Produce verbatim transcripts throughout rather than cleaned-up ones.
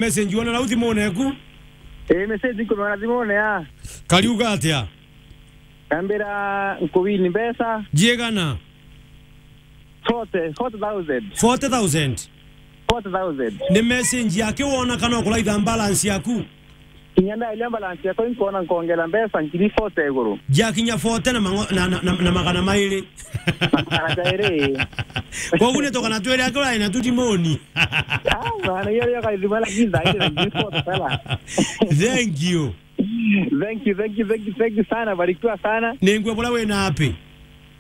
Message wona rau thimune eku? Ii, message nkumenya thimune ya. Kariuga atia? Kambira nkuwini mbeca. Jiegana? Forty, forty thousand. Forty thousand? Forty thousand. Ni message yake wona kana ukuraitha balance yaku? Kinya ndairia balance yakwa inkwona nkongera mbeca ngiri forty iguru. Jakinya forty na mango-, na, na, na, na magana mairi. Magana jairi. Koguo ni tugana twiri aki urai na tutimoni. Ah, bana, iyo rio kaithima, lakini zaidi na ngiri forty sana. Thank you. Thank you, thank you, thank you, thank you sana, barikiwa sana. Ningwe bula wina api?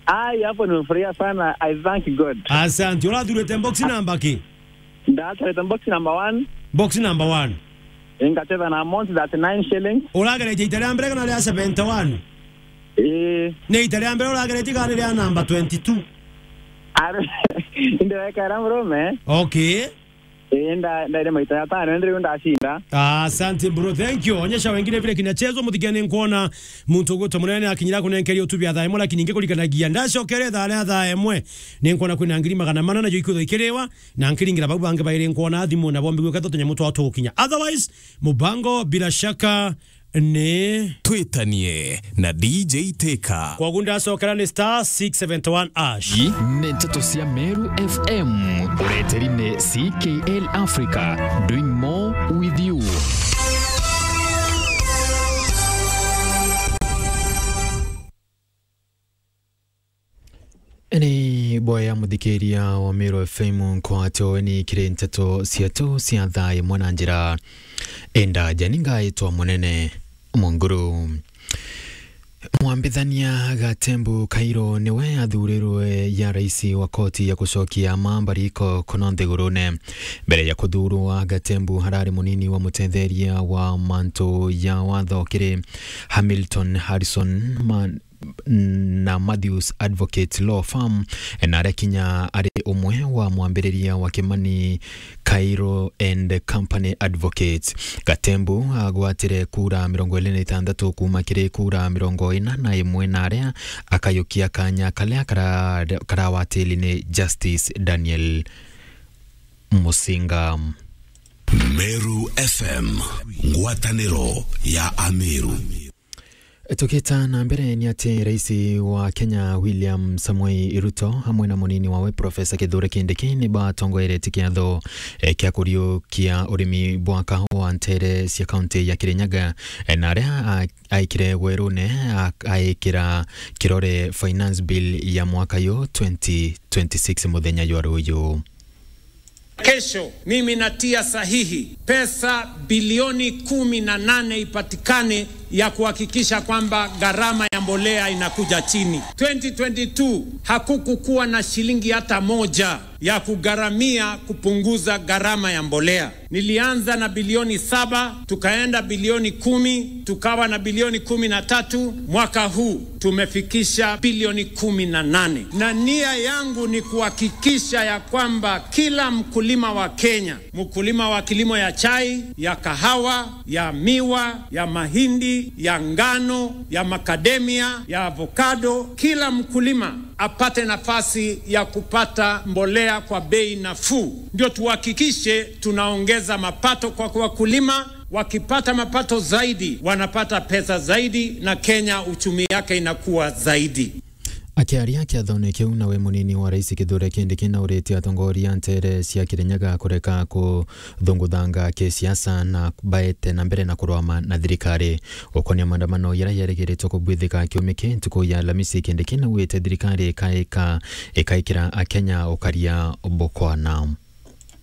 Ai, hapo nimefurahia sana. I thank God. Asante. Urathurite box number ki? Ndathurite box number one. Box number one. Ngacheza na amount thirty-nine shillings. Urageretie ita ria mbere kana ria seventy-one? Ii. Ni ita ria mbere urageretie kana ni ria number twenty-two? Are, ndio weka ria murume. Okay. Ii, nda-, ndaire maita jatano, indi riu ndacinda. Ah, asante bro, thank you. Onyesha wengine vile kinachezwa, muthikia ni nkuona muntu ugwitwa munene ni akinyira kunenkeria utubi athaa imwe, lakini ingi kurikanagia ndacokere thaa ria thaa imwe. Ni nkuona kwina ngiri magana mana najo ikwithwa ikiriwa, na nkiringira bau bangi bairi nkuona thimu na bombi gwika tunyamo twa tugukinya. Otherwise, mubango bila shaka ni Twitanie na D J Teka. Koguo ndacokera ni star six seventy one hash. Ii ni nteto cia Meru F M. Ureteri ni C K L Africa, doing more with you. Ni boya muthikiria wa Meru F M nkwatio ni kiri nteto ciatu cia thaa imwe na njira indaja. Ni ngaitwa Munene Munguru. Mwambithania Gatembu Kairo niwe athurirwe ya rais wa koti ya gucokia mambariko kuno nthigurune. Mbere ya kuthurwa, Gatembu arari munini wa mutetheria wa mantu ya watho kiri Hamilton Harrison Ma-, na Matthews Advocate Law Firm, na aria kinya ari umwe wa mwambiriria wa Kimani Kairo and Company Advocates. Gatembu agwatire kura mirongo iri na itantatu kuuma kiri kura mirongo ina na imwe, na aria akayukia kanya karia kara-, karawatili ni Justice Daniel Musinga. Meru F M, ngwataniro ya Ameru. Tukita na mbere ni ati rais wa Kenya William Samoei Ruto amwe na munini wawe Professor Kithure Kindiki ni batongoeretie kiatho, eh, kia kuriukia urimi bwa kahuwa ntere cia kaunti ya Kirinyaga, eh, na aria a-, aikire werune a-, aikira kirore finance bill ya mwaka yo twenty twenty-six muthenya jwa ruyu. Kesho mimi natia sahihi pesa bilioni kumi na nane ipatikane ya kuhakikisha kwamba gharama ya mbolea inakuja chini. Twenty twenty-two hakukukuwa na shilingi hata moja ya kugharamia kupunguza gharama ya mbolea. Nilianza na bilioni saba, tukaenda bilioni kumi, tukawa na bilioni kumi na tatu. Mwaka huu tumefikisha bilioni kumi na nane. Na nia yangu ni kuhakikisha ya kwamba kila mkulima wa Kenya, mkulima wa kilimo ya chai, ya kahawa, ya miwa, ya mahindi, ya ngano, ya macadamia, ya avocado, kila mkulima apate nafasi ya kupata mbolea kwa bei nafuu. Ndio tuhakikishe tunaongeza mapato kwa wakulima. Wakipata mapato zaidi, wanapata pesa zaidi, na Kenya uchumi yake inakuwa zaidi. Akiaria kiathone kiu, nawe munini wa rais Kithure Kindiki nauritie atongoria ntere cia Kirinyaga kureka kuthunguthanga kisiasa na baete na mbere na kurwama na thirikari. Gukonia maandamano jaria jarigiritwe kubwithika kiumia ki ntuku ya Alamisi, Kindiki naugite thirikari ikaika, ikaikira Akenya ukaria bukwana.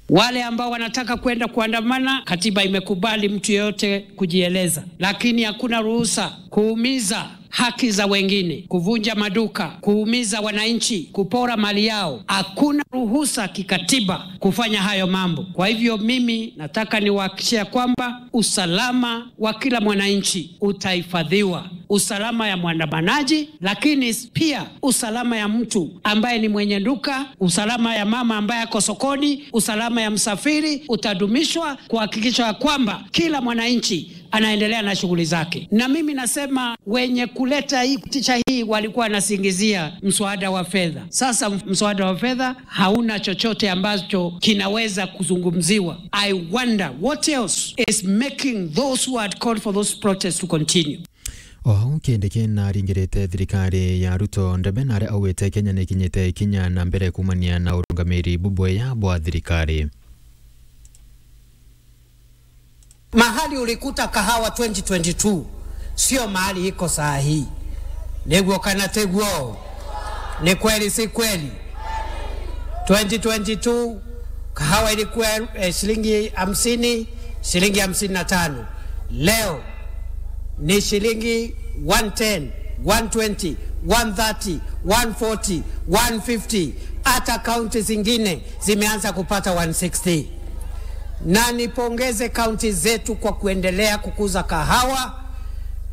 Wale ambao wanataka kwenda kuandamana, katiba imekubali mtu yeyote kujieleza, lakini hakuna ruhusa kuumiza haki za wengine, kuvunja maduka, kuumiza wananchi, kupora mali yao. Hakuna ruhusa kikatiba kufanya hayo mambo. Kwa hivyo mimi nataka niwahakikishie kwamba usalama wa kila mwananchi utahifadhiwa. usalama ya mwandamanaji, lakini pia usalama ya mtu ambaye ni mwenye duka, usalama ya mama ambaye ako sokoni, usalama ya msafiri utadumishwa, kuhakikisha ya kwamba kila mwananchi anaendelea na shughuli zake. Na mimi nasema wenye kuleta hii picha hii walikuwa wanasingizia mswada wa fedha. Sasa mswada wa fedha hauna chochote ambacho kinaweza kuzungumziwa. I wonder what else is making those who had called for those protests to continue. O au Kindiki naringirite thirikari ya Ruto ndebe na aria augite Kenya nikinyite ikinya na mbere kumania na urungamiri bubwega bwa thirikari. Mahali ulikuta kahawa twenty twenty-two, sio mahali iko saa hii. Niguo kana tiguo? Ni kweli si kweli? Twenty twenty-two, kahawa ilikuwa, eh, shilingi hamsini, shilingi hamsini na tano. Leo ni shilingi one ten, one twenty, one thirty, one forty, one fifty. Hata kaunti zingine zimeanza kupata one sixty. Na nipongeze kaunti zetu kwa kuendelea kukuza kahawa,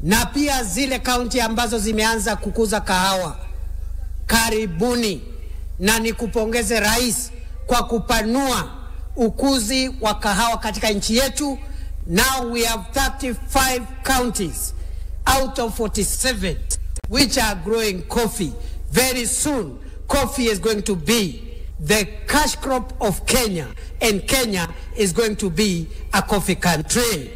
na pia zile kaunti ambazo zimeanza kukuza kahawa, karibuni, na nikupongeze Rais kwa kupanua ukuzi wa kahawa katika nchi yetu. Now we have thirty-five counties out of forty-seven which are growing coffee. Very soon, coffee is going to be the cash crop of Kenya, and Kenya is going to be a coffee country.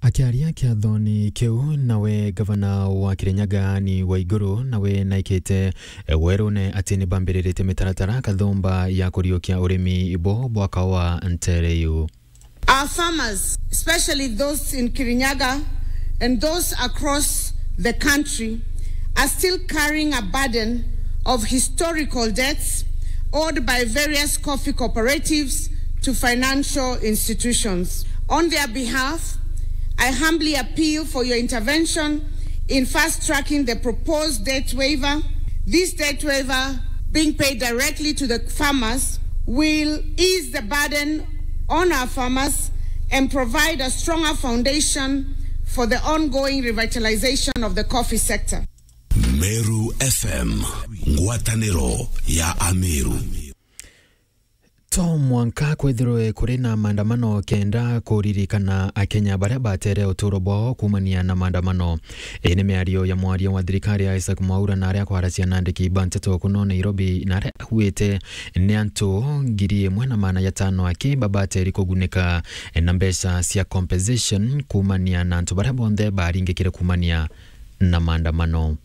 Akiaria kiathoni kiu, nawe gavana wa Kirinyaga Anne Waiguru nawe naikite werune ati ni bambiriritie mitaratara kathumba ya kuriukia urimi bo bwa kawa ntere iu. Our farmers, especially those in Kirinyaga and those across the country, are still carrying a burden of historical debts owed by various coffee cooperatives to financial institutions. On their behalf, I humbly appeal for your intervention in fast-tracking the proposed debt waiver. This debt waiver, being paid directly to the farmers, will ease the burden on our farmers and provide a stronger foundation for the ongoing revitalization of the coffee sector. Meru F M, ngwataniro ya Ameru. To mwanka kwithirwe kuri na maandamano kenda kuririkana Akenya baria batere uturo bwao kumania na maandamano. Ii ni miario ya mwaria wa thirikari ya Isaac Mwaura na aria kwaracia na andiki ba nteto kuno Nairobi, na aria augite ni antu ngiri imwe na magana jatano aki babateri kugunika na mbeca cia compensation kumania na antu baria bonthe baringikire kumania na maandamano.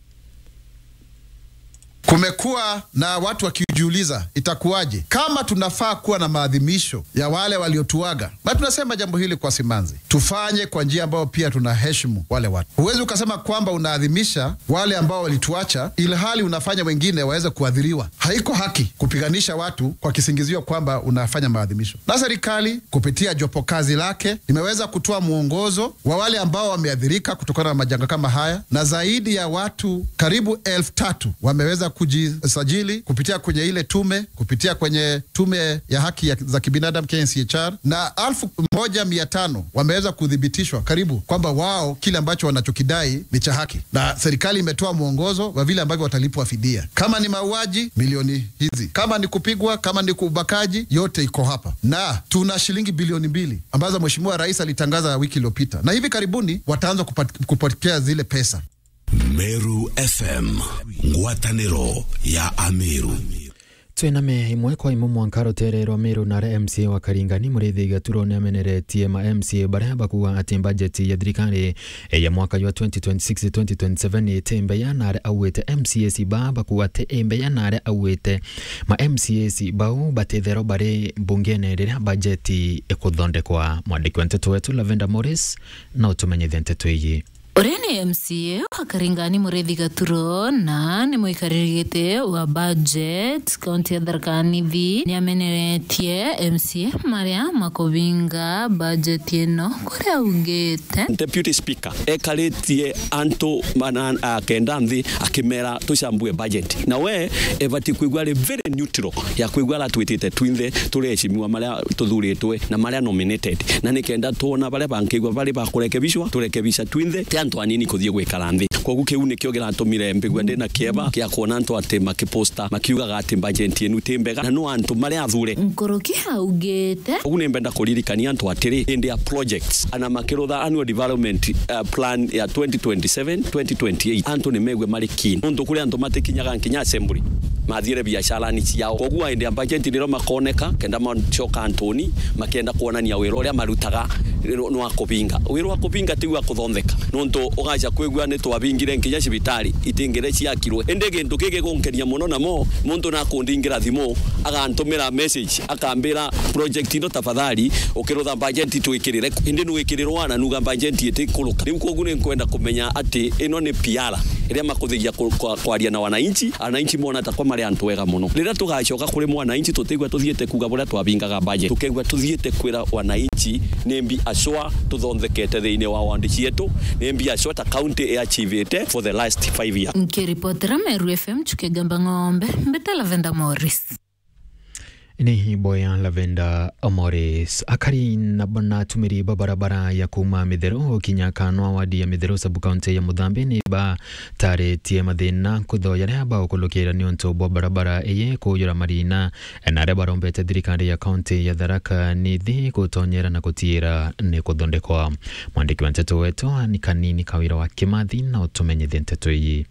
Kumekuwa na watu wakijiuliza, itakuwaje kama tunafaa kuwa na maadhimisho ya wale waliotuaga? Na tunasema jambo hili kwa simanzi, tufanye kwa njia ambayo pia tunaheshimu wale watu. Huwezi ukasema kwamba unaadhimisha wale ambao walituacha, ilhali unafanya wengine waweze kuathiriwa. Haiko haki kupiganisha watu kwa kisingizio kwamba unafanya maadhimisho. Na serikali kupitia jopo kazi lake limeweza kutoa mwongozo wa wale ambao wameathirika kutokana na majanga kama haya, na zaidi ya watu karibu elfu tatu wameweza kujisajili kupitia kwenye ile tume, kupitia kwenye tume ya haki ya, za kibinadamu, K N C H R, na elfu moja mia tano wameweza kuthibitishwa karibu kwamba wao kile ambacho wanachokidai ni cha haki, na serikali imetoa mwongozo wa vile ambavyo watalipwa fidia. Kama ni mauaji, milioni hizi. Kama ni kupigwa, kama ni ubakaji, yote iko hapa. Na tuna shilingi bilioni mbili ambazo Mheshimiwa Rais alitangaza wiki iliyopita, na hivi karibuni wataanza kupat-, kupokea zile pesa. Meru F M, ngwataniro ya Ameru. Twiname imwe kwa imwe mwanka rutere rwa Meru, na aria M C A wa Karingani Muriithi Gaturo ni ameneretie ma M C A baria bakuuga ati bajeti ya thirikari ya mwaka jwa twenty twenty-six twenty twenty-seven iti mbeya, na aria augite M C As ba bakuuga ati i mbeya, na aria augite ma M C As bau batithero bari mbungene riria bajeti ikuthondekwa. Mwandiki wa nteto wetu Lavender Morris na utumenyithie nteto iji. Uria ni M C A wa Karingani Muriithi Gaturo na ni muikariri giti wa budget kaunti ya Tharaka Nithi, ni ameneretie M C A maria makubinga budget ino, kuria augite. Deputy Speaker ekaritie antu mana, a, kenda nthi akimera tucambue budget. Na we ebati kwigua ari very neutral ya kwigua aria twitite twinthe turi eshimiwa maria tuthuritwe na maria nominated. Na nikenda twona baria bankigua bari ba kurekebishwa, turekebisha twinthe. antu anini kuthii gwikara nthi. Koguo kiu nikio kiratumire mbigua ndina kieba kia kwona antu ati makiposta makiugaga ati bajeti inu ti mbega na no antu maria athure. Nkuruki augite. Koguo ni mbenda kuririkania antu atiri, indi ya projects ana makirutha annual development, uh, plan ya twenty twenty-seven, twenty twenty-eight, antu ni megue mari keen. Nontu kuri antu matikinyaga nkinya assembly, mathiire biacarani ciao. Koguo indi ya bajeti nirio makoneka, kenda macoka antuni, makienda kwonania wira uria marutaga ni wa kubinga. Wira wa kubinga ti wa kuthontheka. Nontu ugaca kwigua ni twabingire nkinya cibitari, itingire ciakirwe. Indi gintu gigi gunkenia muno namo, muntu nakundingira thimu, agantumira message, akambira, "Project ino tafadhali, ukirutha bajeti twikirire." Indi nwikirirwa na nuga bajeti itikuruka. Riu koguo ni nkwenda kumenya ati ino ni P R iria makuthiria ku-, kwa-, kwaria na wananchi, wananchi mona ta kwa mari antu ega muno. Riria tugacoka kuri mwananchi, tutigua tuthiite kuuga buria twabingaga budget. Tukeigua tuthiite kwira wananchi ni mbi acwa tuthonthekete thiini wa ward cietu, ni mbi acwa ta county iachivite for the last five years. Nkiripotera Meru F M, Chuke Gamba Ng'ombe, mbeta Lavenda Morris. Ni boya Lavenda Morris. Akari na, na atumiri ba barabara ya kuuma Mitheru gukinya Kanwa wadi ya Mitheru sub-county ya Muthambi ni bataritie mathina kutho jaria bagukulukira niuntu bwa barabara iyi kujura marina, na aria barombete thirikari ya county ya Tharaka Nithi gutonyera na gutiira ni kuthondekwa. Mwandiki wa nteto wetu ni Kanini Kawira wa Kimathi na utumenyithie nteto iyi.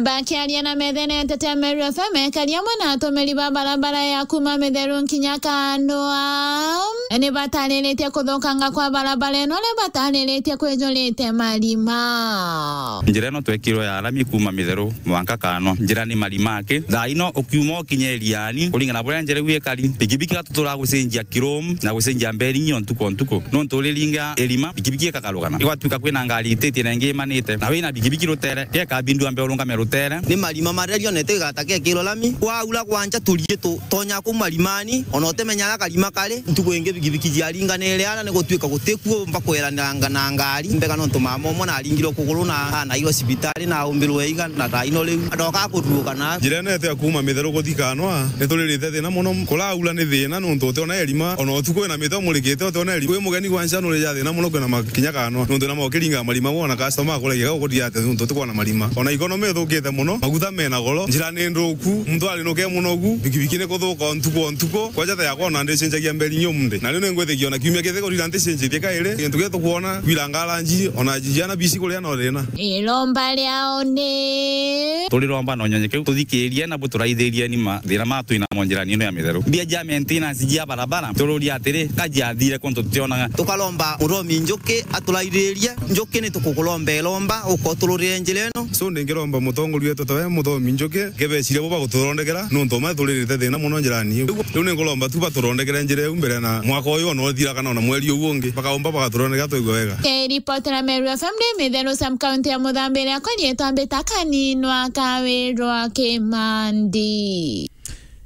Bakiaria na methene ya nteto ya Meru F M, ekari amwe na atumiri ba barabara ya kuuma Mitheru nkinya Kanwa ni batariritie kuthukanga kwa barabara ino, ni batariritie kwijurite marima. Njira ino twekirwe ya rami kuuma Mitheru mwanka Kanwa, njira ni marima aki. Thaa ino ukiuma ukinye Iriani, kuringana na buria njira iu ikari, pikipiki igatutura gucenjia kirum na gucenjia mberi nyo ntuku o ntuku. Nontu uriringa irima, pikipiki ikagarukana. Igwatuika kwina ngari ititie na ingi imanite. Na wina pikipiki rutere, geka bindu ambe urungame rutere. Ni marima maria rionete igata gekirwa lami. Kwaura kwanja turie tu, tonya kuu marimani, ona utimenya aria karima kari, ntuku ingi pikipiki ciaringanire ana ni gutuika gutikuo mba kweraniranga na ngari. Mbega nontu mama umwe naringirwe kuguru na anairwe cibitari na aumbirwe iga na thaa ino riu. Adoka kuruuka na. Njira ino yetu ya kuuma Mitheru kuthi Kanwa, ni turirite thina muno. Kuraura ni thina nontu utiona irima, ona utuku wina miti umurikite utiona irima. Wi mugeni gwa ncha nurija thina muno kwina makinya Kanwa, nontu na mokiringa marima wona customer akuragia gau kuria ati nontu utikwona marima. Ona economy ithukite muno, maguta mena goro, njira ni nthuku, muntu ari nuke muno gu, pikipiki ni kuthuka o ntuku o ntuku. Kwaja ta yakwa ona ndicenjagia mberi nyumde. Na riu ni ngwithikia ona kiumia kithi kurira ndicenjitie kairi. Gintu gia tukwona, kwira ngaranji, ona jiana bici kuria no thina. Iromba riao ni. Turiromba na unyonye kiu tuthikirie na buturaithirie ni mathina ma twina mo njirani ino ya Mitheru. Mbia ja maintenance jia barabara, tururia atiri, ka jiathire kuntu tutionaga. Tukaromba Muthomi Njuki aturaithirie. Njuki ni tukukuromba iromba, ukotururire njira ino. So, ndingiromba mutongoria wetu tawe Muthomi Njuki, kebeciria bo bagututhondekera, nontu ma turirite thina muno njirani iu. Riu ni nguromba tu batuthondekere njira iu mbere na mwaka uyu ona uthira kana ona mweri uyu ungi, bakaumba bagatuthondekera twaigua wega. Kiripotera Meru F M ni Mitheru sub-county ya Muthambi, riakwa riitwa Mbita Kaninwa Kawirwa Kimandi.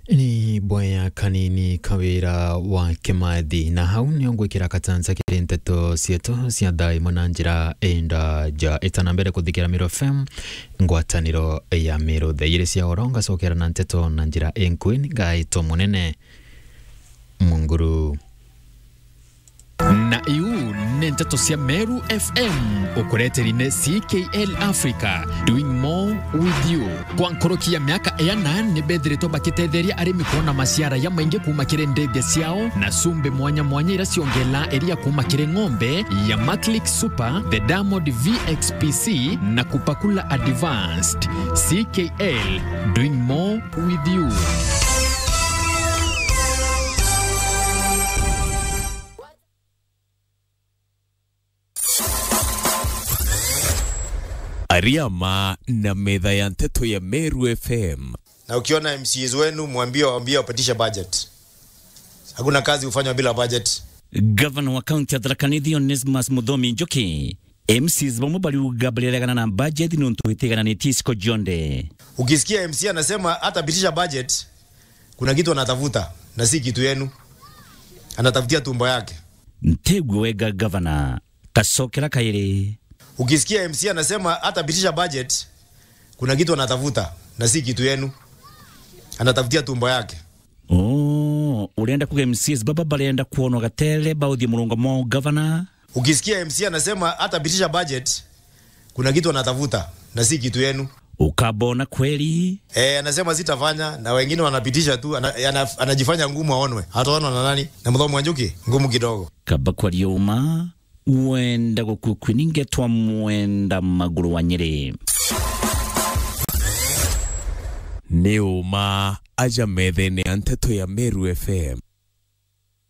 Ni bwea Kanini Kawira wa Kimathi, na hau nio ngwikira katanza kiri nteto cietu cia thaa imwe na njira indaja. Itana mbere kuthikira Meru F M, ngwataniro ya Meru. Thaa igiri cia oro ngacokera na nteto na njira inkui, ngaitwa Munene Munguru. Na iu ni nteto cia Meru F M, ukureteri ni C K L Africa, doing more with you. Kwa nkuruki ya miaka iana, ni bethiritwe bakitetheria arimi kwona maciara jamaingi kuuma kiri ndithia ciao na cumbi mwanya mwanya iria ciongelaa iria kuuma kiri ng'ombe ya Maclick Super, the Diamond V X P C na Kupakula Advanced. C K L, doing more with you. Ariama na metha ya nteto ya Meru F M. Na ukiona M C As wenu, mwambie waambie wapitishe budget. Hakuna kazi hufanywa bila budget. Gavana wa kaunti ya Tharaka Nithi Onesmus Muthomi Njuki, M Cs bamwe bariuga bariregana na budget nontu itigananitie icigo cionthe. Ukisikia M C anasema hatapitisha budget, kuna kitu anatafuta na si kitu yenu. Anatafutia tumbo yake. Ntegwe wega gavana, kacokera kairi. Ukisikia M C anasema hatapitisha budget, kuna kitu anatafuta na si kitu yenu. Anatafutia tumbo yake. Oh, urenda kuga M Cs baba barenda kuonwa gatele bauthie murungo mwa gavana? Ukisikia M C anasema hatapitisha budget, Kuna kitu anatafuta na si kitu yenu. Ukabona kweli? Eh, anasema sitafanya, na wengine wanapitisha tu, ana-, ana-, anajifanya ngumu aonwe. Ataonwa na nani? Na Muthomi wa Njuki? Ngumu kidogo. Kaba kwaria uma, wenda gukukwi ningetwa mwenda maguru wa Nyeri. Ni uma aja methene ya nteto ya Meru F M.